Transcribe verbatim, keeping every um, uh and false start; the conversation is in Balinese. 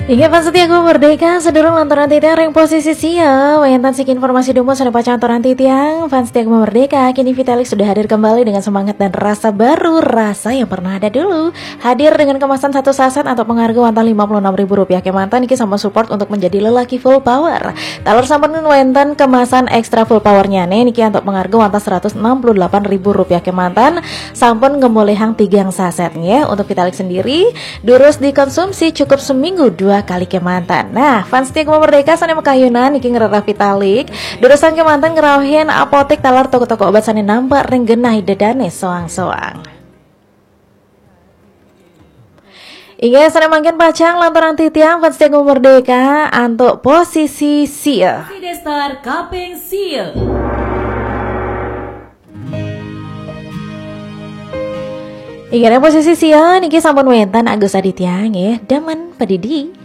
Inggih fans setia Gema Merdeka, sedurung lantaran titiang ring posisi sia, wénten siki informasi dumun sané pacang aturang titiang. Fans setia Gema Merdeka, kini Vitalik sudah hadir kembali dengan semangat dan rasa baru, rasa yang pernah ada dulu. Hadir dengan kemasan satu saset antuk pangarga wantah lima puluh enam ribu rupiah kémanten, niki sampun support untuk menjadi lelaki full power. Taler sampun wénten kemasan extra full power-nyané niki antuk pangarga wantah seratus enam puluh delapan ribu rupiah kémanten, sampun ngemolihang tigang saset nggih. Untuk Vitalik sendiri, durus dikonsumsi cukup seminggu dua kali kémanten. Nah, fans setia Gema Merdeka sané makayunan niki ngrereh Vitalik, durusang kémanten ngrauhin apotik taler toko-toko obat sané nampek ring genah ida dané soang-soang. Inggih sané mangkin pacang lantaran titiang fans setia Gema Merdeka antuk posisi sia. Destar kaping sia. Inggih ring posisi sia niki sampun wénten Agus Aditya nggih, Demen Padidi.